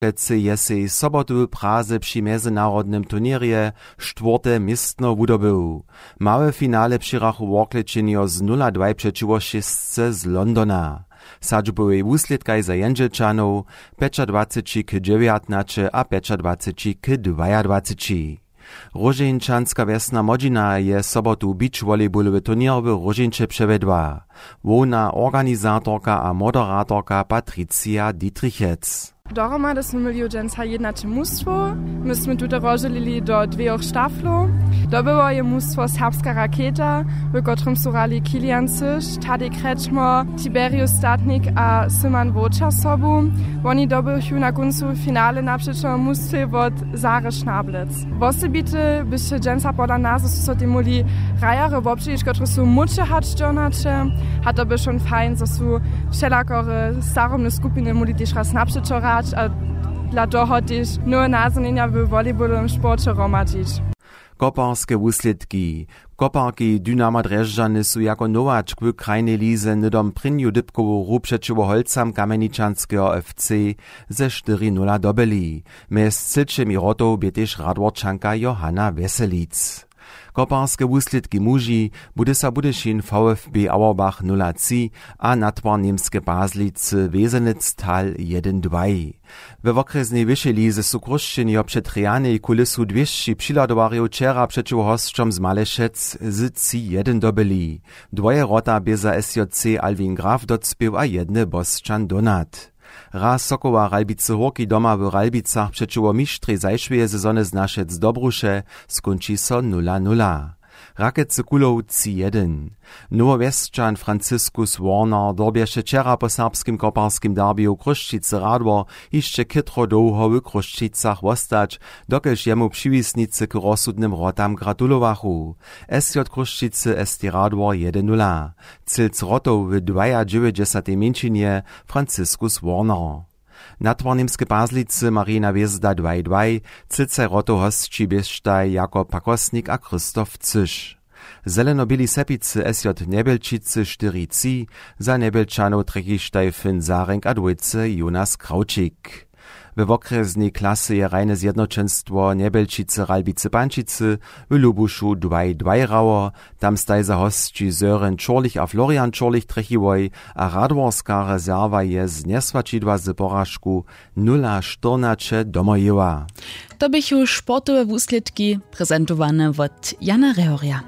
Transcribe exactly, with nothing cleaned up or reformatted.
Worklecy je sej sobotu w Praze při mjezynarodnym turněrje štwórte městno wudobył. Małe finale přihrjachu Worklećenjo z nula dwaj přećiwo šěsce z Londona. W sadźbowej wuslědkaj za Jendźelčanow pjećadwaceći k dźewjatnaće a pjećadwaceći k dwajadwaceći. Róžeńčanska wjesna Młodźina je sobotu beach volleybolowy turněr w Róžeńće přewjedła. Hłowna organizatorka a moderatorka Patricija Dietrichec. Dohromady smy měli dźensa jednaće mustwow. My smy tute rozdźělili do dwejoch štaflow. Dobyło je mustwo Serbska raketa, w kotrymž su hrali Kilian Syš, Tadej Kretschmer, Tiberius Statnik a Syman Wowčer sobu. Woni dobychu na kóncu finale napřećo mustwje wot Zary Šnablec. Wosebite běše dźensa pola nas, zo su so tej móhli hrajerjo wobdźělić, kotrež su móhće hač dźonaće. A to bě wšón fajn, zo su wšelakore starobne skupiny móhli tež raz napřećo hrać a dla toho tež nowe nazhonjenja w volejbolowym sporće hromadźić. Koparske wuslědki. Koparki Dynama Drježdźany su jako nowačk w krajnej lize hnydom prěnju dypkowu hru přećiwo holcam Kamjeničanskeho F C ze štyri nula dobyli. Mjez třěćimi wrotow bě tež Radworčanka Johanna Wjeselic. Koparske wuslědki muži: Budysa Budyšin V F B Auerbach nula tři a Natwar Němske Pazlicy Wesenec Thal jedyn dwaj. We wokrjesnej wyšej lize su Chrósćenjo před rjanej kulisu dwěsći přihladowarjow wčera přećiwo hosćom z Malešec z tři jedyn dobyli. Dwoje wrota bě za S J C Alwin Graf docpěł a jedny Bosćan Donat. Raz Sokoła Ralbicy Hórki doma w Ralbicach přećiwo mištrej zašłeje sezony z Našec Dobruše skónči so nula nula. Rakecy Kulow tři jedyn. Nowowjesćan Franciskus Warner dyrbješe wčera po serbskim koparskim derbiju Chrósćicy Radwor hišće chětro dołho w Chrósćicach wostać, dokelž jemu přiwisnicy k rozsudnym wrotam gratulowachu. S J Chrósćicy S T Radwor jedyn nula. Cylc wrotow w dwajadźewjećdźesatej mjeńšinje Franciskus Warner. Natwar Němske Pazlicy Marina Hwězda dwaj dwaj, cylcaj wrotow hosći běštaj Jakob Pakosnik a Christoph Cyš. Zeleno-běli Sepicy S J Njebjelčicy štyri tři, za Njebjelčanow trjechištaj Finn Zarenk a dwójce Jonas Krawčik. We wokrjesnej klasy je hrajne zjednoćenstwo Njebjelčicy Ralbicy Pančicy w Lubušu dwaj dwaj hrało. Tam staj za hosći Søren Čurlich a Florian Čurlich trjechiłoj a radworska rezerwa je z njeswaćidła z poražku nula štyrnaće domojěła. To běchu sportowe wuslědki, prezentowane wot Jana Rehorja.